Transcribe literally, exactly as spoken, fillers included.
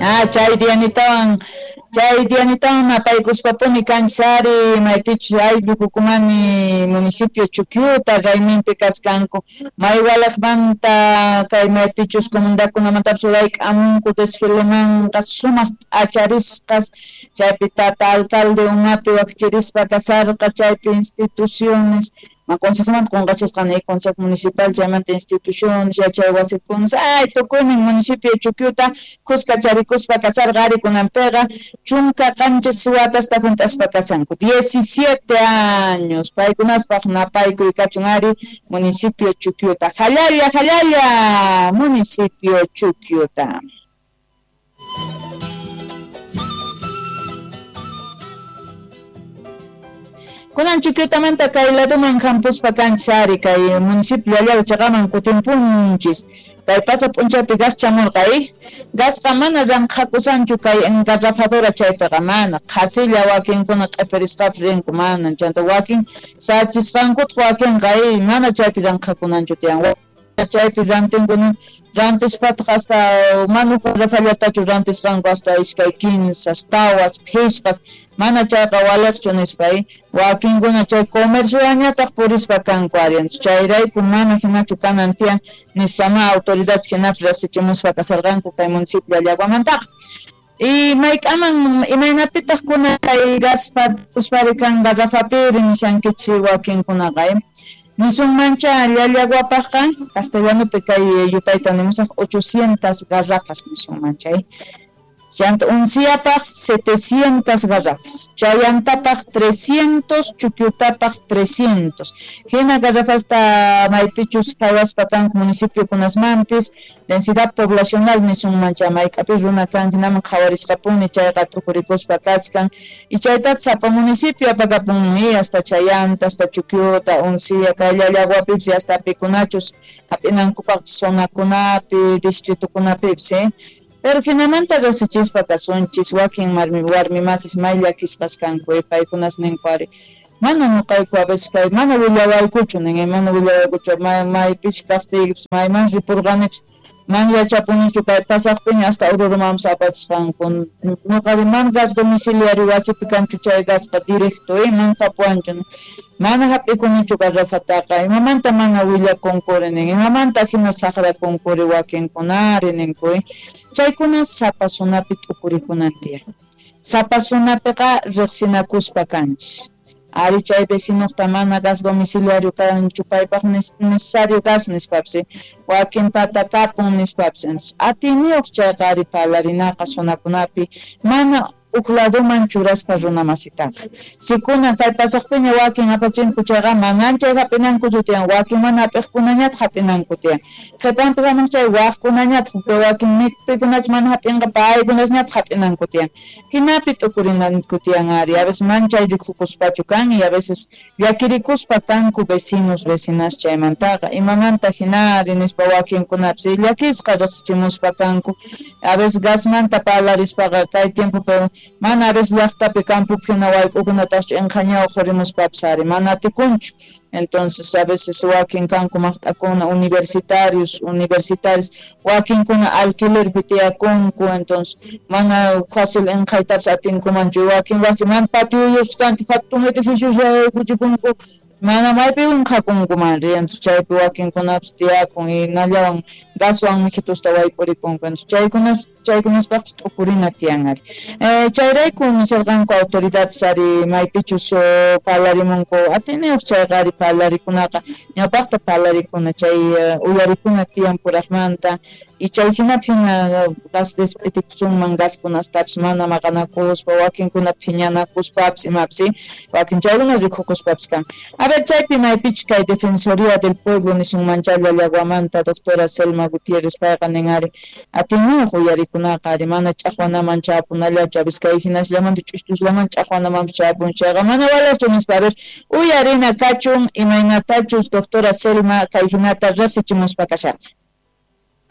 Ah, chay Dianitawan, chay Dianitawan napaykuspapuni kanchis ari maypichus ayllu Kukumani municipio Chukyuta rayminpi kaskanku may walaqmanta kay maypichus comunidadkunamantapas wayk'amunku desfilemanqa sumaq p'acharisqas chaypi tata alcalde umapi wakchirispa kasarqa chaypi instituciones ma consejomanta qunqachisqan consejo municipal chaymanta instituciones yachay wasikunas ay tukuynin municipio Chukyuta kuska charikuspa kasarqa ari kunanpiqa chunka qanchis watasta hunt'aspa kasanku diecisiete años paykunaspaq napaykuy kachun ari municipio Chukyuta jallalla jallalla municipio Chukyuta. Kunan Chukyutamanta kay laduman hampuspa kanchis ari kay municipio Llallagua chaqaman kutinpunchis kay pasa p'unchaypi gas chamurqa eh gasqa mana ranqhakusanchu kay engarrafadora chaypiqa mana qhasilla wakinkuna q'ipirisqapis rinku mana chanta wakin sachisqankutaq wakinqa eh mana chaypi ranqhakunanchu tiyan chaypi rantinkuna rantispataq hasta mana garrafallatachu rantisqanku hasta iskay kinsas tawas phisqas mana chayqa waliqchu nispa wakinkuna chay comercioañataq purispa kanku ari chayrayku mana hinachu kanan tiyan nispa ma autoridades hinapi riqsichimuspa kasarqanku kay municipio Llallaguamantaqa. Y mayk'aman imaynapitaq kuna kay gaspa uspari kan garrafapiri nishankichik wakinkunaqa nisunmancha Llallaguapaqqa castellanopi kay yupayta nimusaq ochocientas garrafas nisunmancha chanta Unciapaq setecientas garrafas, Chayantapaq trescientos, Chukyutapaq trescientos. Hina garrafasta maypichus qhawaspa kanku municipio kunasmanpis densidad poblacional nisunmancha mayk'api runa kan hinaman qhawarisqapuni chayqa t'ukurikuspa kachkan y chaytataq sapa municipio apakapun hasta Chayanta, hasta Chukyuta, Uncia, kay Llallaguapipis hasta pikunachus hap'inankupaq zonakunapi, distritokunapipis eh. Pero hinamanta riqsichispa kasunchis wakin warmi warmi masis may llakisqas kanku paykunas ninku ari mana nuqayku a veces kay mana willawaykuchu nin mana willawaykuchu maypichus kaqtiykipas mayman ripurqanipis man yachapunichu kay pasaqpiña hasta Oruromanpas apachisqanku nuqari man gas domiciliario wasipi kanchu chay gasqa directo eh man kapuwanchu mana hap'ikunichu garrafataqa imamanta mana willakunkuri nin imamanta hina saqrakunkuri wakinkunari ninku chaykuna sapa zonapi t'ukurikunan tiyan sapa zonapiqa riqsinakuspa kanchis ari chay vecinuqta mana gas domiciliario kanchu paypaq necesario gas nispapis wakinpata kapun nispapis atiyniyuq chayqa ari parlarinaqa zonakunapi mana huk laduman churaspa runa masitaqa sikuna kay pasaqpiña wakin apachinku chayqa manan chay hap'inankuchu tiyan wakin mana hap'iqkunañataq hap'inanku tiyan qhipanpi hamuq chay waqkunañataq wakin pikunachu mana hap'inqa paykunasñataq hap'inanku tiyan hinapi t'ukurinanku tiyan ari a veces man chay rikukuspachu kan y a veces llakirikuspa kanku vecinos vecinas chaymantaqa imamanta hinari nispa wakinkunapis llakisqa riqsichimuspa kanku a veces gasmanta parlarispaqa kay tiempopi mana a veces llaqtapi campopi hina wayk'ukunataqchu inqhañaw qurimuspapis ari mana atikunchu entonces a veces wakin kanku maqt'akuna universitarios universitarios wakinkuna alquilerpi tiyakunku entonces mana fácil inqhaytapis atinkumanchu wakin wasi mana patioyuqchu kanchu hatun edificios kuchipunku mana maypi inqhakunkuman ri entonces chaypi wakinkunapis tiyakun y nallawan gaswan mijitusta wayk'urikunku entonces chaykunas chaykunaspaqpis t'ukurina tiyan ari eh, chayrayku nisharqanku autoridades ari maypichus parlarimunku atiyniyuq chayqa ari parlarikunaqa ñawpaqta parlarikuna chay uyarikuna tiyan puraqmanta y chay hinapi hina gaspis p'itikusunman gaskunastapis mana maqanakuspa wakinkuna phiñanakuspapis imapis wakin chaykuna rikukuspapis kan. A ver chaypi maypichus kay Defensoría del Pueblo nisunmancha Llallaguamanta doctora Selma Gutiérrez payqa nin ari atiyniyuq uyarikunaqa ari mana ch'aqwanaman chapunallachu a veces kay hinasllamanta ch'ustusllaman ch'aqwanamanpis chapun chayqa mana walaqchu nispa a ver uyarina kachun imaynatachus doctora Selma kay hinata riqsichimuspa kasharqa.